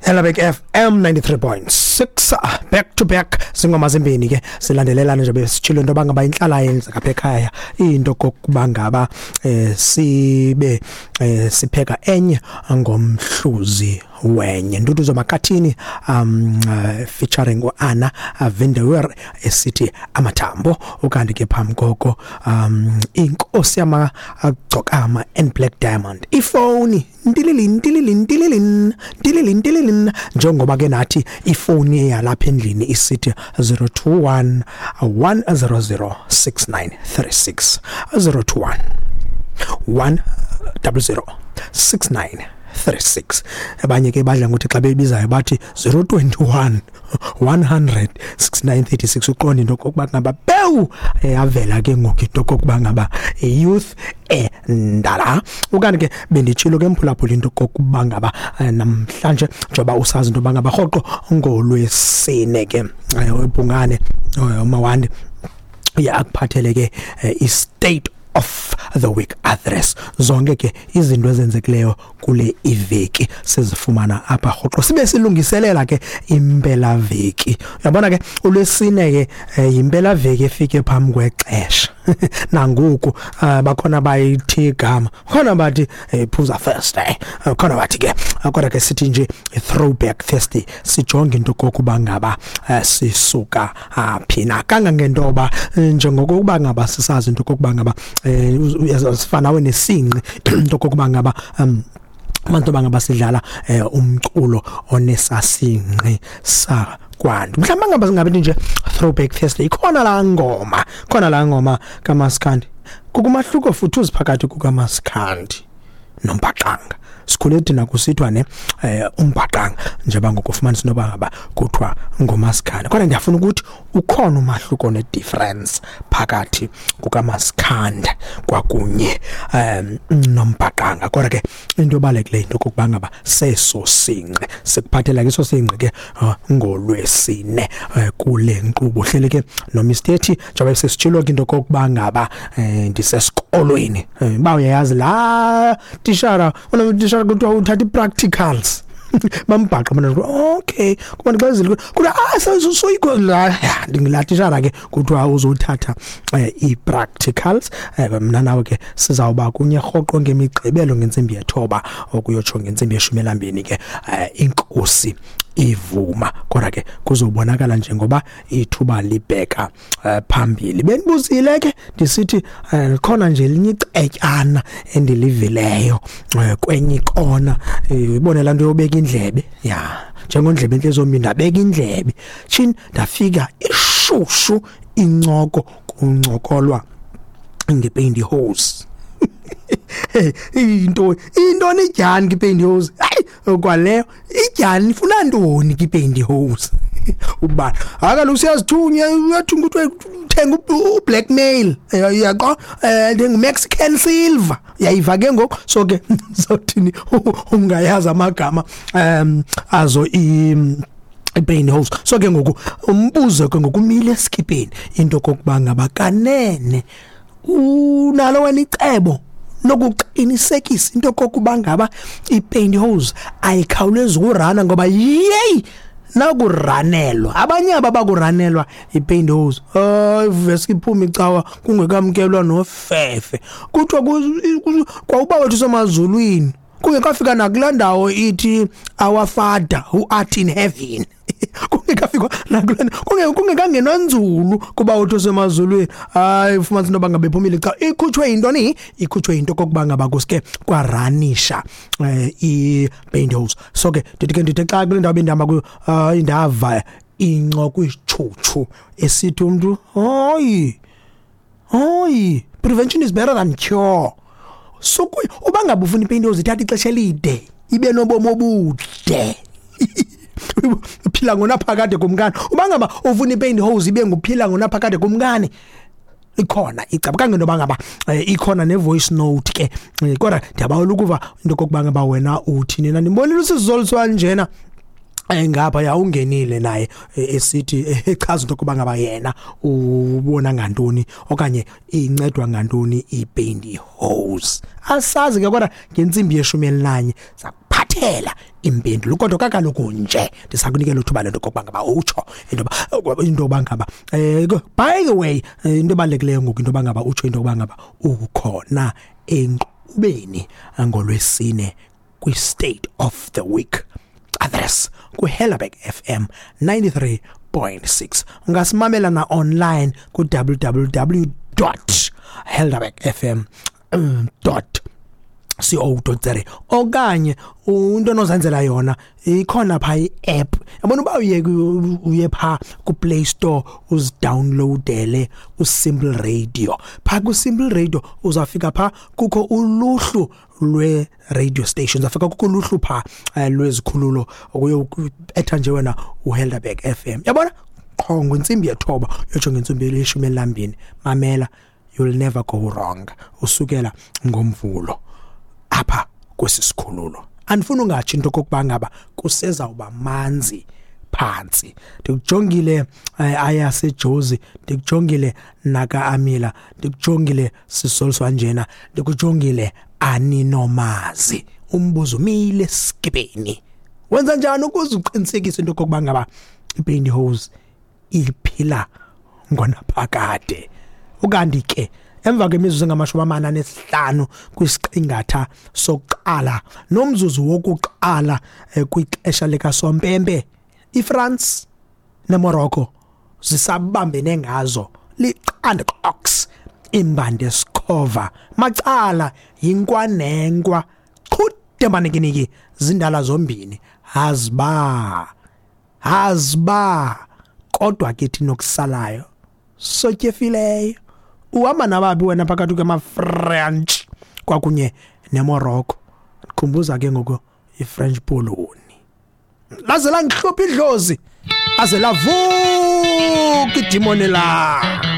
Elabek FM 93.6, back to back zingoma zimbini ke silandelelana nje. Besitshilo into bangaba inhlala yenzeka apha ekhaya, into kokuba ngaba sibe sipheka enye ngomhluzi wenye. Nduduzo Makathini featuring uAnna Vindewer esithi Amathambo. Ukanti ke phambi koko Inkosi Yamagcokama and Black Diamond, ifoni ntilili ntilili ntilili ntilili ntilili. Njengoba ke nathi ifoni yalapha endlini isithi 021 100 6936, 021 100 6936. Abanye ke badla ngokuthi xa bebizayo bathi 021 100 6936. Uqonda into okokuba ngaba pewu yavela ke ngoku into okokuba ngaba youth endala. Ukanti ke benditshilo ke, mphulaphula, into okokuba ngaba namhlanje, njengoba usazi into yoba ngaba rhoqo ngolwesine ke uBhungane uMawandi uye akuphathele ke i-state of the week address. Zonke ke izinto ezenzekileyo kule iveki sizifumana apha rhoqo, sibe silungiselela ke impela veki. Uyabona ke, ulwesine ke yimpela veki efike phambi kwexesha. Nangoku bakhona bayithi igama, khona bathi Phuza Thursday, khona bathi ke, kodwa ke sithi nje Throwback Thursday, sijonge into kokuba ngaba sisuka phi na, kangangentoba njengokuba ngaba sisazi into kokuba ngaba sifana nawe nesinqi, into kokuba ngaba abantu bangaba sidlala umculo onesasinqi sa kwantu. Mhlawumbe ngaba singabe nje Throwback Thursday, ikhona la ngoma, khona la ngoma kaMaskandi. Kukumahluko futhi uziphakathi kukaMaskandi nombhaqanga. Sikhule thina kusithiwa ne umbhaqanga, njengoba ngokufumanisa into ngaba kuthiwa ngomaskandi, kodwa ndiyafuna ukuthi ukhona umahluko ne-difference phakathi kukamaskandi kwakunye nombhaqanga. Kodwa ke into ebalulekileyo into okokuba ngaba seso sinqe sikuphathela ke, eso sinqe ke ngolwesine kule nkqubo. Hleli ke noMr T, njengoba sesitshilo ke into okokuba ngaba ndisesikolweni. Uba uyayazi laa tishara, unotishara kuthiwa uthatha i-practicals, bambhaqa bona. Okay, kuba ndixezile kuthiwa ah soyiko la, ndingilaa tishara ke kuthiwa uzothatha ii-practicals. Mna nawe ke sizawuba kunye rhoqo ngemigqibelo ngentsimbi 9 okuyotsho ngentsimbi 12 ke, inkosi ivuma. Kodwa ke kuzobonakala njengoba ithuba libheka phambili. Benibuzile ke ndisithi khona nje elinye icetyana endilivileyo kwenye ikona. Ibone laa nto yobeka indlebe ya njengondlebe entle zombini, ndabeka indlebe tshini, ndafika ishushu incoko, kuncokolwa ngepantyhose. Into intoni idyani kwipantyhose? Hayi, kwaleyo idyani ifuna ntoni kwipantyhose? Uba hayi kaloku siyazithunya, uyathunga, kuthiwa uthenga ublackmail, yaqo Mexican silver, uyayiva ke ngoku. So ke sothini, ungayazi amagama azo i pantyhose. So ke ngoku umbuzo ke ngoku umile esikipeni, into kokuba ngaba kanene unalo wena icebo lokuqinisekisa into kokuba ngaba ipantyhose ayikhawulezi ukurana, ngoba yeyi, nakuranelwa abanye aba bakuranelwa ipantyhose, hayi, veske iphuma icawa kungekamkelwa nofefe. Kuthiwa kwawuba wethu semazulwini, kungekafika nakulaa ndawo ithi "Our Father who art in heaven", kungekafikwa nakulaa, kungekangenwa nzulu kuba uthi osemazulwini, hayi, ufumanisa into yoba ngaba iphumile xa ikhutshwe yintoni? Ikhutshwe yinto kokuba ngaba kuske kwaranisha i-pantyhose. So ke ndithi ke, ndithe xa kule ndawo bendihamba kuyo, hayi, ndava incoko isitshutshu esithi umntu, "Hayi, hayi, prevention is better than cure." So uba ngaba ufuna ipantyhose ithatha ixesha elide, ibe nobomi obude, uphila ngonaphakade kumkani, uba ngaba ufuna ipantyhose ibe nguphila ngonaphakade kumkani, ikhona icebo kangento ngaba ikhona ne-voice note ke. Kodwa ndiyabawela ukuva into kokuba ngaba wena uthini na. Ndimbonile usizoliswa njena ngapha ya, ungenile naye esithi echaza into yokuba ngaba yena ubona ngantoni okanye incedwa ngantoni ipantyhose. Asazi ke, kodwa ngentsimbi 11 sakuphathela. Ndizakuphathela impendulo, kodwa kakaloku nje ndisakunikela uthuba lento kokuba ngaba utsho into yoba ngaba by the way, into ebalulekileyo ngoku into yoba ngaba utsho into yokuba ngaba ukhona enkqubeni ngolwesine kwi-State of the Week address ku-Helderberg FM 93.6. Ungasimamela na online ku-www helderbergfm co.za, okanye into onozenzela yona ikhona pha i-app. Yabona, uba uye pha ku-Play Store, uzidownloadele uSimple Radio. Pha ku-Simple Radio uzawufika pha kukho uluhlu lwe-radio stations, uzawufika kukho uluhlu pha lwezikhululo. Uyobetha nje wena uHelderberg FM, yabona, qho ngentsimbi 9 yotsho ngentsimbi 12. Mamela, you'll never go wrong. Usukela ngoMvulo apha kwesi sikhululo, andifuni ungatsho into okokuba ngaba kusezawuba manzi phantsi. Ndikujongile ayaseJozi, ndikujongile naka Amila, ndikujongile sisoliswa njena, ndikujongile aninomazi. Umbuzo umile skipeni: wenza njani ukuze uqinisekise into okokuba ngaba ipantyhose iphila ngonaphakade? Ukanti ke emva kwemizuzu engama-45 kwisiqingatha sokuqala nomzuzu wokuqala kwixesha likasompempe, iFrance neMorocco zisabambene ngazo liqanda ox imbande sikhova macala, yinkwa nenkwa qhude manikiniki, zindala zombini, haziba haziba. Kodwa ke thina okusalayo sotyefileyo. Uhamba nababi wena phakathi kwama-French kwakunye neMorocco? Khumbuza ke ngoku i-French Poloni, laze langihlupha idlozi, aze lavuka idimoni la.